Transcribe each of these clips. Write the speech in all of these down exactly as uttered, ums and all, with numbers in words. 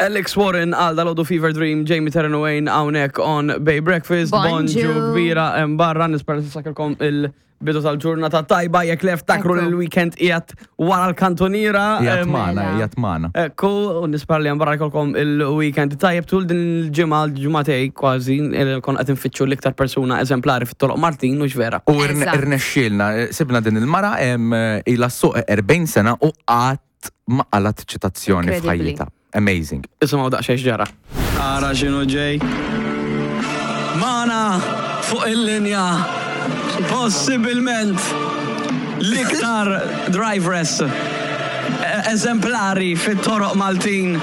Alex Warren għal dalgħodu Fever Dream, Jamie Terran Wayne hawnhekk on Bay Breakfast. Bonġu. Bonġu kbira hemm barra, nispera tisakilkom il-bidu tal-ġurnata tajba, jekk lef takru Ekku. l-weekend qiegħed wara l-kantoniera. Jgħat Em, magħna, Mela. jgħat magħna. Ekku, u nispera li barra jkollkom il-weekend tajjeb tul din il-ġimgħa, l-ġimgħatej kważi, il- kon qed nfittxu l-iktar persuna eżemplari fit-toroq Maltin, u vera. U irne- Eżatt. irnexxielna, sibna din il-mara em, ilha ssuq erbgħin sena u qatt ma qalgħet ċitazzjoni Incredibly. f'ħajjitha. Amazing. Isimgħu daqsxejn ġara. Ara x'inhu ġej. Magħna fuq il-linja possibilment l-iktar driveress eh, eżemplari fit-toroq Maltin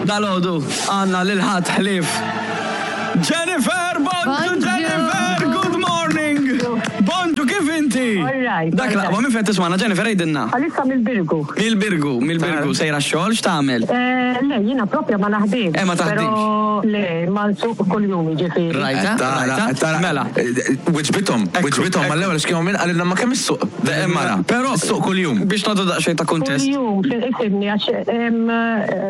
dalgħodu għandna lil ħadd ħlief Jennifer, bonġu Bonġu. Jennifer, good morning. Bonġu, kif inti? All right, Dak all laqwa, right. minn fejn tismagħna, Jennifer, għidilna. Għalissa mill-Birgu. Mill-Birgu, mill-Birgu, sejra x-xogħol, x'tagħmel? Eh, Le, jiena propja ma naħdimx. Eh, ma taħdimx. Pero le, ma nsuq kull-jum ġifieri. Rajta, rajta, mela. Wiġbithom, Ekku, wiġbithom, ekku. mal-ewwel x'kienu minn qalilna ma kemm issuq. Il-mara. Però Issuq kuljum. Biex nagħtu daqsxejn ta' kuntest. Kull-jum, ifhimni, għax em,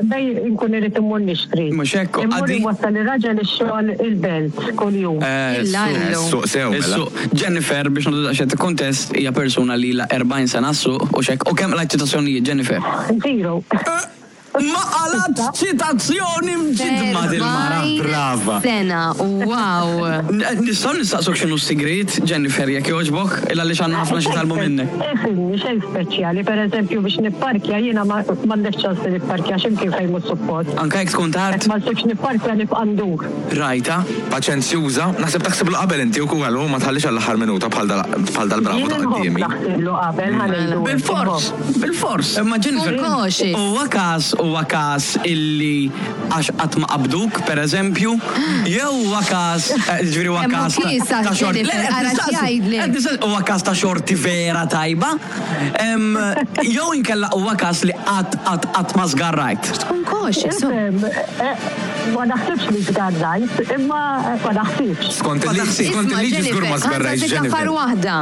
bej nkun irrid immur nixtri. Mhux hekk, Immur għaddi- inwassal ir-raġel ix-xogħol il-belt kull-jum. Eh, Illa su- allu. Suq sew, mela. Issu, Jennifer, biex nagħtu daqsxejn ta' kuntest, hija persuna li la erbgħin sena ssuq u xek. U kemm qlajt ċitazzjonijiet, Jennifer? Zero. Ma qalgħet ċitazzjoni mġidma dil-mara. Erbgħin Brava. Sena, wow. N- Nistgħu nistaqsuk x'inhu s-sigrit, Jennifer, jekk jogħġbok, illa li għandna ħafna xi nitgħallmu minnek. Ifhimni, xejn speċjali, per eżempju biex nipparkja jiena ma m'għandekx ċans li nipparkja x'imkien fejn mhux suppost. Anka jekk tkun tard, Ma nsibx nipparkja nibqa' ndur. rajta. Paċenzjuża, naħseb taħsiblu qabel inti u kull ma tħallix għall-aħħar minuta bħal dal- bħal dal-bravo Jien ta' nħobb quddiemi. naħsiblu qabel ħa ngħidu. Bil-fors, bil-fors. Imma Jennifer, Kun cautious. huwa każ, huwa każ illi għax qatt ma qabduk, per eżempju, jew huwa każ, eh, ġifieri huwa Hemm każ ta' kiesa, ta' xorti. Jennifer, Le, qed ara nistaqsi, x'jgħidlek. qed nistaqsi, huwa każ ta' xorti vera tajba, Em, jew inkella huwa każ li qatt qatt qatt ma żgarrajt. Tkun cautious. oh. Ifhem, eh, ma naħsibx li żgarrajt, imma eh, ma naħsibx. Skont Ma il-liġi, taħsibx. skont Isma' il-liġi żgur ma Jennifer, żgarrajx ħa nsaqsik affar Jennifer. waħda.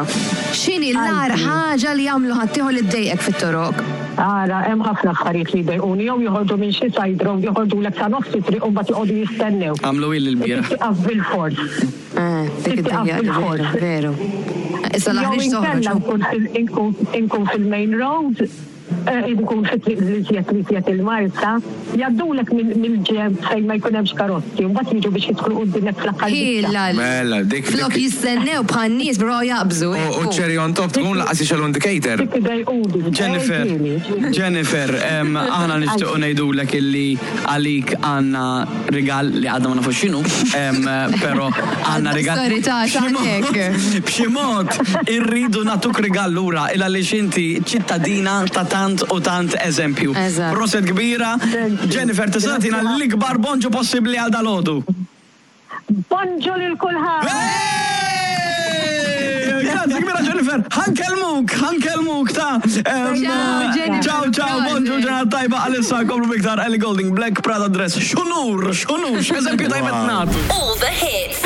X'inhi l-agħar ħaġa li jagħmlu ħaddieħor li ddejqek fit-toroq? Ara, hemm ħafna affarijiet li jdejquni, jew joħorġu minn xi side road, joħorġu lek sa nofs it-triq u mbagħad joqogħdu jistennew. Għamlu il l-bieraħ. Tieqaf bil-fors. Eh, dik Tieqaf id-dejjaq, bil-fors. veru, veru. Issa Jew l-aħriġ inkella toħroġ. nkun fil- inkun- inkun fil-main road, eh, inkun fit-triq li żjed li żjed il-Marsa, jgħaddulek mill-ġenb fejn ma jkun hemmx karozzi, u mbagħad jiġu biex jidħlu quddiemek fl-aħħar biċċa. Illa. Mela, dik- Flok dik- jistennew bħal nies bro jaqbżu. U ekku. cherry on top tkun lanqas jixegħlu indicator. Dik idejquni. Jennifer, Eh, ġieli. Jennifer, em, aħna nixtiequ ngħidulek illi għalik għandna rigal li għadna ma nafux x'inhu, em, però għandna rigal. Sorry, ta' B'xi mod- x'għandek? B'xi mod irridu nagħtuk rigal lura il għaliex inti ċittadina ta' tant u tant eżempju. Eżatt. Proset kbira, Jennifer, tista' tagħtina l-ikbar bonġu possibbli għal dalgħodu. Bonġu lil kulħadd. Hey! Grazzi kbira Jennifer, ħa nkellmuk, ħa nkellmuk ta' em, Ciao, Jennifer. Ciao, ciao, bonġu ġurnata tajba għalissa komplu biktar Ellie Goulding, Black Prada Dress. X'unur, x'unur, x'eżempju tajba nagħtu. All the hits.